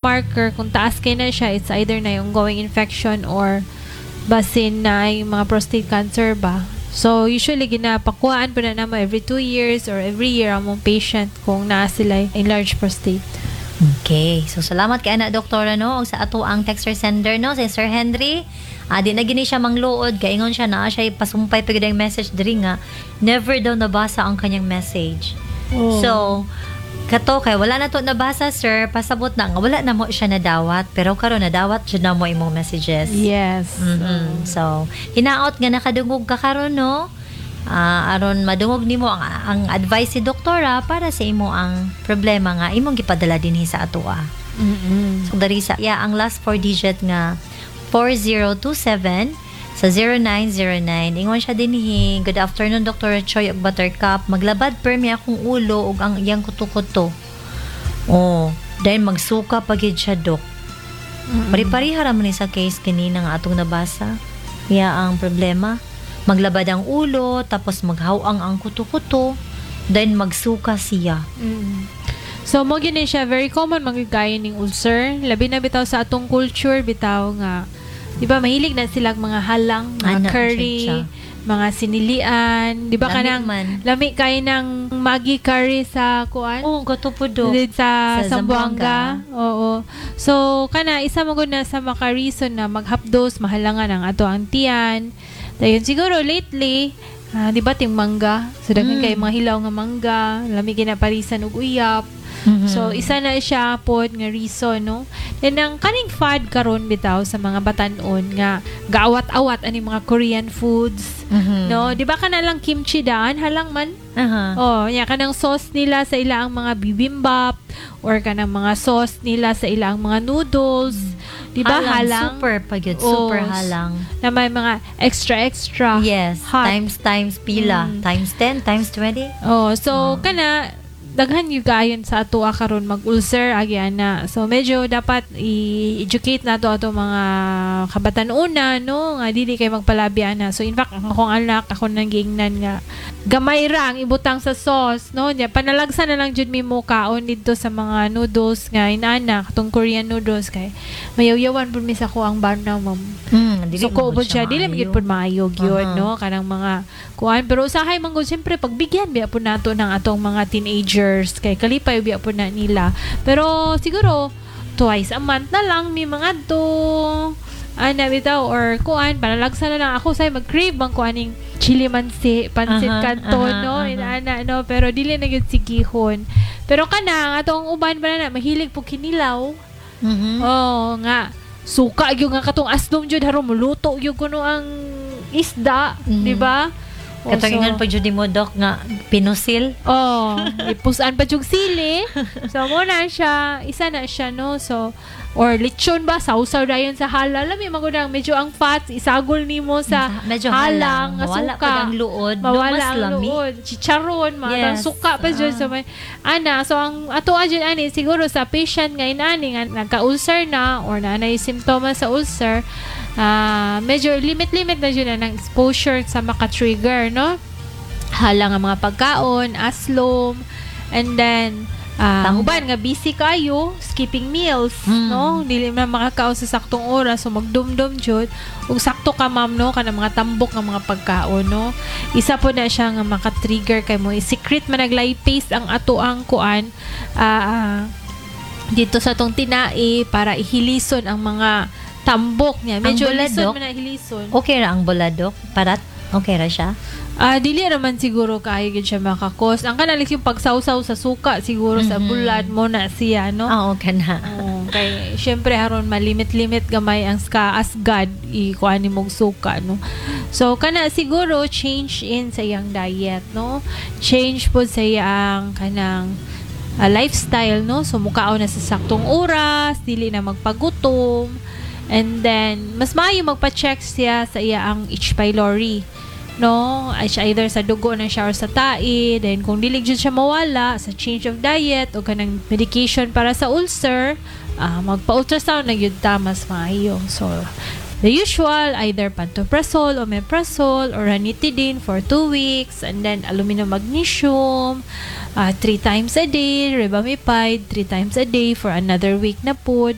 Marker, kung taas kay na siya, it's either na yung ongoing infection or basin na yung mga prostate cancer ba. So, usually, ginapakuhaan pa na namo every 2 years or every year ang mong patient kung naa sila enlarged prostate. Okay. So, salamat kay ana, doktora, no? Og sa ato ang texter sender, no? Si Sir Henry. Di na gini siya mangluod. Kaingon siya na siya pasumpay pa gyud ang message diri nga never daw nabasa ang kanyang message. Oh. So, kato kay wala na to nabasa, sir, pasabot na nga wala na mo siya nadawat, pero karon nadawat jud na mo imong messages. Yes. So, hinaot nga nakadungog ka karon, no? Aron madungog nimo ang advice si doktora para sa imo ang problema nga imong gipadala dinhi sa atoa. So dari sa iya ang last four digit nga 4027 sa 0909, ingon siya dinhi, "Good afternoon, Dr. Choi ug Buttercup. Maglabad permi akong ulo ug ang iyang kuto-kuto." Oh, dahil magsuka pa gyud siya, dok. Pari-pariha ra man ni sa case kanina nga atong nabasa. Iya ang problema. Maglabad ang ulo, tapos maghawang ang kuto-kuto, then magsuka siya. So mo gini siya, very common magigaya ning ulcer, labi na bitaw sa atong culture bitaw nga, di ba, mahilig na silang mga halang, mga Ana, curry, siya. Mga sinilian, di ba? Lami Kanang man. Lami kay ng Maggi curry sa kuan. Oh, gato po, dok. Sa, Sa Zamboanga. Oo. So kana isa mo gud na sa maka reason na maghapdos, mahalangan ang ato ang tiyan. Dayon siguro lately, di ba ting mangga? So daghan kay mga hilaw nga mangga, lami ginaparisan og uyap. So isa na siya pod nga reason, no. Then ang kaning fad karon bitaw sa mga batan-on nga gaawat-awat ani mga Korean foods. No, di ba kana lang kimchi daan halang man? Oh, nya kanang sauce nila sa ilang mga bibimbap or kanang mga sauce nila sa ilang mga noodles. Di ba halang? Super pa gyud, Oh, super halang. Na may mga extra extra. Yes, hot. Times times pila, times 10, times 20. Oh, so kana daghan yung kaayon sa ato karon mag-ulcer agi ana. So medyo dapat i-educate nato ato mga kabatan-una, no, nga dili kay magpalabi ana. So in fact, ang akong anak, ako nang giingnan nga gamay ra ang ibutang sa sauce, no. Nya panalagsa na lang jud mi mo kaon didto sa mga noodles nga inana, katong Korean noodles, kay mayawyawan pud mi sa ko ang bana, ma'am. Dili So ko man pud siya, dili man maayo. gyud pud maayo gyud, no, kanang mga kuan, pero usahay man gud siyempre pagbigyan biya pud nato ng atong mga teenagers kay kalipay biya pud na nila, pero siguro twice a month na lang mi mga to ana bitaw or kuan, panalagsa na lang. Ako say mag-crave bang kuaning chili mansi pansit canton, no, inaana, no, pero dili na gyud sigihon. Pero kana ang atong uban pa na mahilig po kinilaw. Oh, nga. Suka gyud nga katong aslom jud haron muluto gyud kuno ang isda, di ba? Oh, Katong ingon pa jud mo, dok, nga pinusil. Oh, ipusan pa jud sili. So mo na siya, isa na siya, no. So or lechon ba, sausaw dayon sa halal. Alam mo magudang medyo ang fats isagol nimo sa Medyo halang halang, nga mawala suka. pud ang luod, no, Mawala mas ang lami. luod. Chicharon, mga suka pa jud. So may ana, so ang ato jud ani siguro sa patient nga inani nga nagka-ulcer na or na anay simptomas sa ulcer, medyo limit-limit na jud na ng exposure sa maka-trigger, no? Halang ang mga pagkaon, aslom, and then Tambok. uban nga busy kayo, skipping meals, no? Dili man makakaon sa saktong oras, so magdumdum jud. Ug sakto ka, ma'am, no, kana mga tambok nga mga pagkaon, no. Isa po na siya nga maka-trigger kay mo. I-secrete man nag-lipase ang ato ang kuan dito sa atong tinai para ihilison ang mga tambok niya. Ang Medyo bulad, lison Dok? man na hilison. Okay ra ang bulad, dok? Parat? Okay ra siya? Dili raman siguro kaayo gyud siya makakos. Ang kanalik yung pagsawsaw sa suka siguro sa bulad mo na siya, no? Ah, okay na. Oo, kay syempre aron malimit-limit gamay ang ska as God ikuan nimong suka, no. So kana siguro change in sa iyang diet, no. Change po sa iyang kanang lifestyle, no. So mukaon na sa saktong oras, dili na magpagutom. And then mas maayo magpa-check siya sa iyang H. pylori, no? Ay siya either sa dugo na siya or sa tae. Then kung dili jud siya mawala sa change of diet o kanang medication para sa ulcer, magpa-ultrasound na gyud ta, mas maayo. So the usual, either pantoprazole, omeprazole, or ranitidine for 2 weeks, and then aluminum magnesium, three times a day, rebamipide, three times a day for another week na pod.